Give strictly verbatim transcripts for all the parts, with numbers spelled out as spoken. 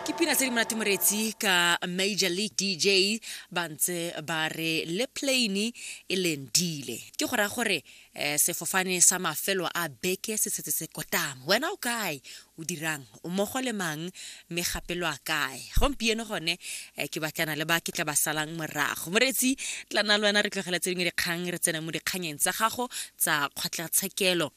Ke pina tse di monate, moretsi, ka Major League D J, ba ntse ba re le plane e lendile. Ke go raya gore um sefofane sa mafelo a beke se setse se kotama. Wena o kae, o dirang, o mmogo le mang, mme gape lo a kae gompieno? Gone um ke batlana le ba ke tla ba salang morago. Moretsi, tla nna le wena re tlogela tse dingwe dikgang, re tsena mo dikganyeng tsa gago tsa kgotlatshekelo.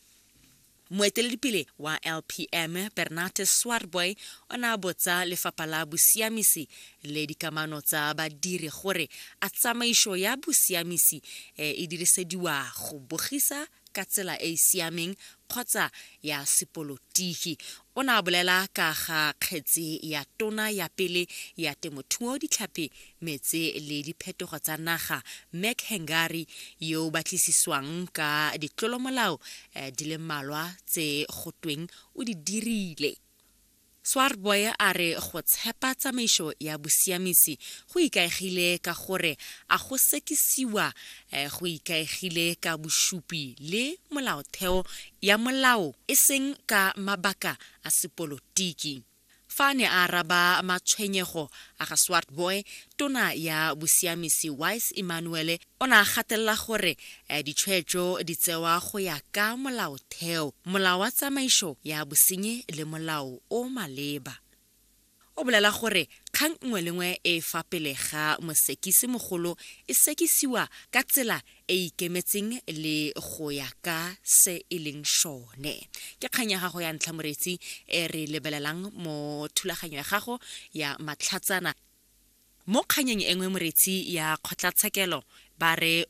Moeteledipele wa L P M, Bernard Swartboy, o ne a botsa Lefapha la Bosiamisi le Dikamano tsa Badiri gore a tsamaiso ya bosiamisi e dirisediwa go bogisa ka tsela e e siameng kgotsa ya sepolotiki. O ne a bolela ka ga kgetse ya tona ya pele ya Temothuo, Ditlhapi, Metse le Diphetogo tsa Naga, Mac Hengari, yo o batlisiswang ka ditlolomolao di le mmalwa tse go tweng o di dirile. Swartboy a re go tshepa tsamaiso ya bosiamisi go ikaegile ka gore a go sekisiwa go ikaegile ka bosupi le molaotheo ya molao, e seng ka mabaka a sepolotiki. Fa a ne a araba matshwenyego a ga Swartboy, tona ya Bosiamisi Wise Emmanuel o ne a gatelela gore ditshwetso di tsewa go ya ka molaotheo, molao wa tsamaiso ya bosenyi le molao o maleba. O bolela gore kgang nngwe le nngwe e fa pele ga mosekisi mogolo e sekisiwa ka tsela e e ikemetseng le go ya ka se e leng sone. Ke kgang ya gago ya ntlha, moretsi, e re lebelelang mo thulaganyo ya gago ya matlhatsana. Mo kganyeng e nngwe, moretsi, ya kgotlatshekelo, ba re